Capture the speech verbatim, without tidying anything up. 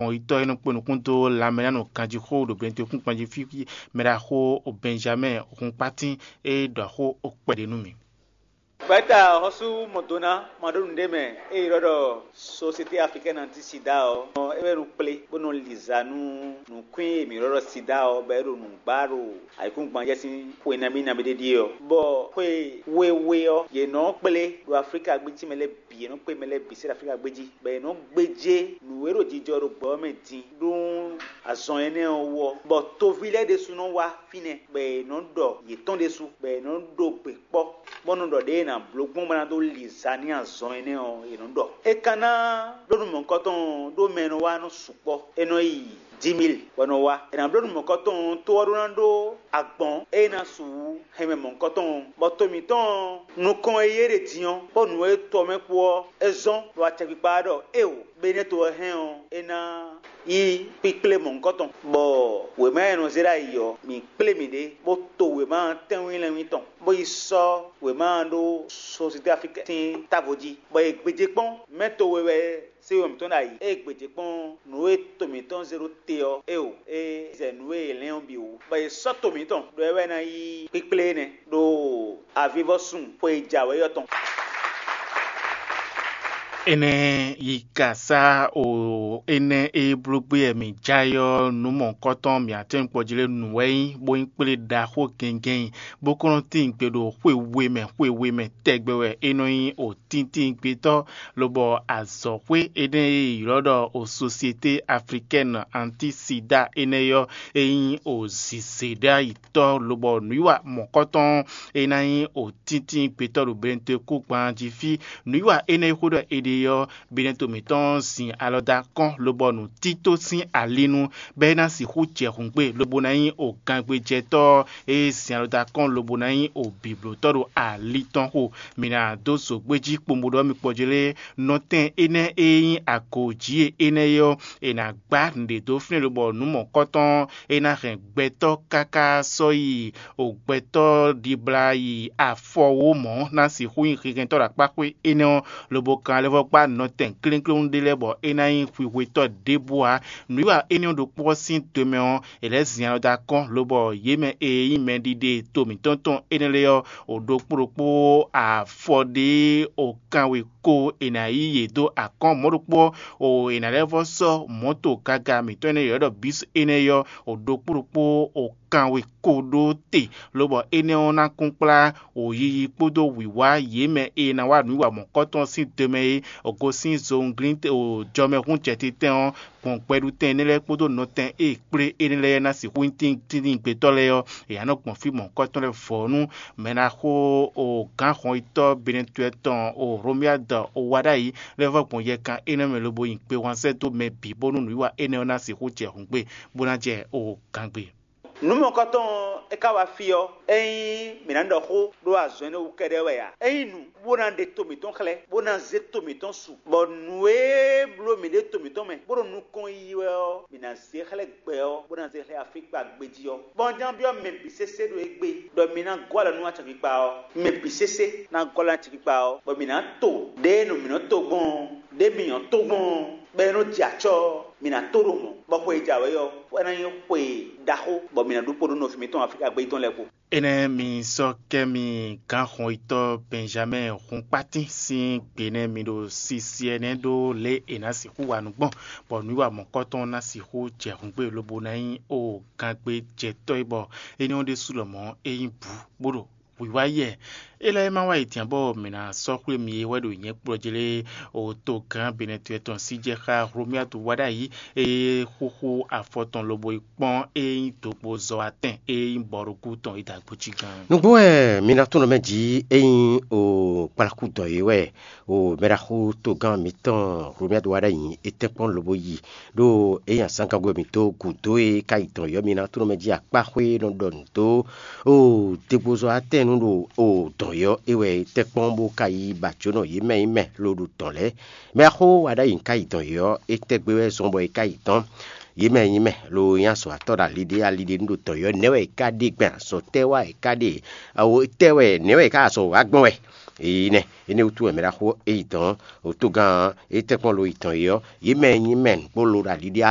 Xɔnyitɔ́ e nɔ kpé nukún dó lanmɛ ná nɔ ganjí xó ɖo Benɛtɔ́kún kpanjí fí, mɛ ɖaxó Bɛnjamɛ́ɛ Hunkpátín e ɖɔ xó kpɛɖé nú mì. Gbɛ̌ta xɔ́sú Mɔdona ma ɖó nǔɖé mɛ e ylɔ́ ɖɔ Société Africaine Anti Sida ɔ́, é wɛ nɔ kplé bó nɔ li za nú nǔkwín e mǐ ylɔ́ ɖɔ sida ɔ́, bɔ é ɖo nǔ gbá ɖo ayǐkúngban jɛ sín xwe nabí nabí ɖé ɖíe ɔ́. Bɔ xwe wéwé ɔ́, yě nɔ kplé ɖo Aflíka gbící mɛ lɛ́ɛ bǐ, yě nɔ kplé mɛ lɛ́ɛ bǐ sín Aflíka gbéjí, bɔ yě nɔ gbéjé nǔ e ɖo jijɔ ɖo gbɛ ɔ́ mɛ din ɖó azɔn énɛ́ ɔ́ wú ɔ́, bɔ toví lɛ́ɛ ɖésú nɔ wá fínɛ́, bɔ yě nɔ ɖɔ yětɔn ɖésú, bɔ yě nɔ ɖo gbe kpɔ́, bó nɔ ɖɔ ɖěe è nǎ bló gbɔn bó ná dó li za n'i azɔn énɛ́ ɔ́, è nɔ ɖɔ. É ka ná ɖó nú mɔ̌hunkɔtɔn ɔ́, ɖó mɛ e nɔ wá nɔ sukpɔ́; é nɔ yi dix mille wɛ nɔ wá. È nǎ bló nú mɔ̌hunkɔtɔn ɔ́, to ɔ́ ɖó ná ɖó agbɔ̌n e ná su hɛn mɛ mɔ̌hunkɔtɔn ɔ́, bɔ to mǐtɔn ɔ́, nukɔn e yí é ɖe din ɔ́, kpó nǔ e to ɔ́ mɛ kpó ɔ́, é zɔ́n ɖo acɛkpikpa ɔ́ ɖɔ éeǒ, Benɛ́to ɔ́ hɛn ɔ́, é ná yí kpíkplé mɔ̌hunkɔtɔn, bɔ wěma e nɔ zé ɖ'ayǐ ɔ́, mǐ kplé mǐɖée, bó to wěma ɔ́ tɛ́nwínlɛ́nwín tɔn, bó yi sɔ́ wěma ɔ́ ɖó Société Africaine sín távo jí, bɔ è gbějé kpɔ́n mɛ to we wɛ sé wɛ mǐtɔn ɖo ayǐ. Ée gbějé kpɔ́n nǔ e to mǐtɔn zé ɖó te ɔ́, éeǒ, é zɛ nǔ e è lɛ́n ɔ́ bǐ wú, bɔ è sɔ́ to mǐtɔn ɖó é wɛ ná yí kpíkplé énɛ́ ɖo avivɔ́sun xwe e jǎwe ɔ́ tɔn. Énɛ́ yi ka sá o énɛ́ e bló gbé wɛ mǐ jɛ ayɔ́ nǔ mɔ̌hunkɔtɔn mǐ atɛ́nkpɔ́ jí lɛ́ɛ nu wɛ nyí, bó nyí kplé ɖaxó gɛngɛn, bó kɔn nɔ tín gbe ɖo xwe we mɛ, xwe we mɛ tɛgbɛ wɛ é nɔ nyí o tíntín gbetɔ́, lobɔ azɔ̌xwé énɛ́ e è ylɔ́ ɖɔ o Société Africaine Anti Sida énɛ́ ɔ́, é nyí o zǐzé ɖ'ayǐ tɔ́, lobɔ nǔwiwa mɔ̌kɔtɔn e ná nyí o tíntín gbetɔ́ ɖo Benɛtɔ́kúngban jí fí. Nǔwiwa énɛ́ e xó ɖɔ è ɖe ɔ́, Benɛto mǐtɔn zin alɔ dó akɔ́n, lobɔ nǔtító sín ali nu, bɔ é ná sixú jɛ hǔngbe, lobo ná nyí o gangbejɛtɔ́ e zin alɔ dó akɔ́n, lobo ná nyí o bǐblótɔ́ ɖo ali tɔn xo. Mǐ ná dó zǒgbéjí kpombo ɖɔ mì kpɔjlé nɔtɛn énɛ́ e nyí agǒjí e énɛ́ é ɔ́, è nǎ gbá nǔɖé dó fínɛ́ lobɔ nǔ mɔ̌kɔtɔn é ná hɛn gbɛtɔ́ káká sɔ́ yi o gbɛtɔ́ ɖibla yi afɔwó mɔ̌ ná sixú nyí hihɛntɔ́ ɖo akpáxwé énɛ́ ɔ́, lobo kan lɛ́ vɔ́ gbá nɔtɛn klénkléwún ɖé lɛ́ɛ bɔ é ná nyí xwixwetɔ́ ɖěbǔ ǎ. Nǔwiwa énɛ́ ɔ́ ɖokpó ɔ́ sín do mɛ ɔ́, è lɛ́ zin alɔ dó akɔ́n, lobɔ yě mɛ e nyí mɛɖiɖe to mǐtɔn tɔn énɛ́ lɛ́ɛ ɔ́, o ɖokpó ɖokpó afɔ ɖé o kanwe ko è nǎ yí yě dó akɔ́n mɔ̌ ɖokpó ɔ́, o è nǎ lɛ́ vɔ́ sɔ́ mɔ̌to gaga mǐtɔn énɛ́ ylɔ́ ɖɔ bǐs énɛ́ ɔ́, o ɖokpó ɖokpó o kanwe ko ɖó te, lobɔ énɛ́ ɔ́ ná kún kplá o yiyi kpódó wǐwá yě mɛ e ná wá nǔ wa mɔ̌kɔtɔn sín do mɛ é, o gosín zowunglín o jɔmɛhún jɛtitɛn ɔ́, gbɔn gbɛɖutɛn énɛ́ lɛ́ɛ kpódó nɔtɛn e kplé énɛ́ lɛ́ɛ ná sixú nyí tíntín gbetɔ́ lɛ́ɛ ɔ́, è nǎ nɔ gbɔn fí mɔ̌hunkɔtɔn lɛ́ɛ vɔ̌ nú mɛ ná xo o gǎnhɔnyitɔ́ Benɛtɔ́ tɔn o Hlomyád o wá ɖ'ayǐ lɛ́ vɔ́ gbɔn yɛkan énɛ́ mɛ lobo nyi gbe wǎn sɛ́ dó mɛ bǐ bónú nǔwiwa énɛ́ ɔ́ ná sixú jɛ hǔngbe, bó ná jɛ o gǎngbe. Nǔ mɔ̌kɔtɔn ɔ́, é ka wá fí ɔ́, ényí mǐ ná ɖɔ xó ɖó azɔn énɛ́ wú kɛ́ɖɛ́ wɛ ǎ. Ényí nǔ bó ná ɖe to mǐtɔn xlɛ́, bó ná zé to mǐtɔn su, bɔ nǔ e bló mǐ ɖe to mǐtɔn mɛ, bó ɖo nukɔn yiyi wɛ ɔ́, mǐ ná zé xlɛ́ gbɛ ɔ́, bó ná zé xlɛ́ afíkpa gbejí ɔ́. Bɔ un ján byɔ́ mɛ bǐ sésé ɖo égbé ɖɔ mi ná gɔ́ alɔ nú acɛkpikpa ɔ́. Mɛ bǐ sésé ná gɔ́ alɔ nú acɛkpikpa ɔ́, bɔ mǐ ná to ɖěe nɔ mǐ nɔ to gbɔn ɔ́, ɖě mǐ nyɔ́ tó gbɔn ɔ́, bɔ é nɔ jɛ acɔ́ ɔ́, mǐ ná tó ɖo mɔ̌, bɔ xwe e jǎwe ɔ́, é ná nyí xwe ɖaxó, bɔ mǐ ná ɖu kpó ɖó nɔví mǐtɔn Aflíka gbé tɔn lɛ́ɛ kpo. Énɛ́ mi sɔ́ kɛ mi gǎnxɔnyitɔ́ Bɛnjamɛ́ɛ Hunkpátín sín gbe nɛ́ mi ɖo sisi ɛnɛ ɖó lě e è nǎ sixú wa nǔ gbɔn, bɔ nǔwiwa mɔ̌kɔtɔn ná sixú jɛ hǔngbe lobo ná nyí o gangbejɛtɔ́ é, bɔ énɛ́ ɔ́ ɖésú lɔmɔ̌ é nyí bǔ bó ɖo wǐwá yɛ. É lɛ́ɛ ma wá yi din ǎ bɔ mǐ ná sɔ́ xwlé mi é wɛ ɖo nyɛ̌ kplɔ́ jí lé, o togán Benɛtɔ́ tɔn sí jɛ xá Hlomyádu wá ɖ'ayǐ, é xúxú afɔ tɔn lobo yi kpɔ́n é nyí dǒgbozɔ́watɛn é nyí bɔɖókú tɔn é dó agbo jí gán. Nǔgbó wɛ mi ná tunɔ mɛ jí é nyí o kplakú dɔn é wɛ o mɛɖaxú togán mǐtɔn Hlomyádu wá ɖ'ayǐ é tɛ́nkpɔ́n lobo yi, ɖó é nyí azǎngagbe mǐtɔn gǔdo e ka yi dɔn yɔ́ mi ná tunɔ mɛ jí akpáxwé nɔ ɖɔ nǔ dó o dégbozɔ́ atɛ́nnu ɖo o dɔn yɔ́ é wɛ é tɛ́nkpɔ́n bó ka yi ba jǒnɔ yě mɛ nyí mɛ lo ɖo dɔn lɛ́ɛ. Mɛ axó wa ɖ'ayǐ ka yi dɔn yɔ́ é tɛ́ gbé wɛ zɔ́n bɔ é ka yi dɔn. Yě mɛ nyí mɛ lo nyí azɔ̌ atɔ́ ɖo ali ɖé ali ɖé nu ɖo dɔn yɔ́ nɛ̌ wɛ é ka ɖe gbɛn azɔ̌ tɛ́ wá é ka ɖe awo tɛ́ wɛ nɛ̌ wɛ é ka azɔ̌ wá gbɔn wɛ. Eyi nɛ énɛ́ wútu wɛ mɛ ɖaxó é yi dɔn o tógán é tɛ́nkpɔ́n lo yi dɔn é ɔ́, yě mɛ nyí mɛ nǔgbó lo ɖo ali ɖé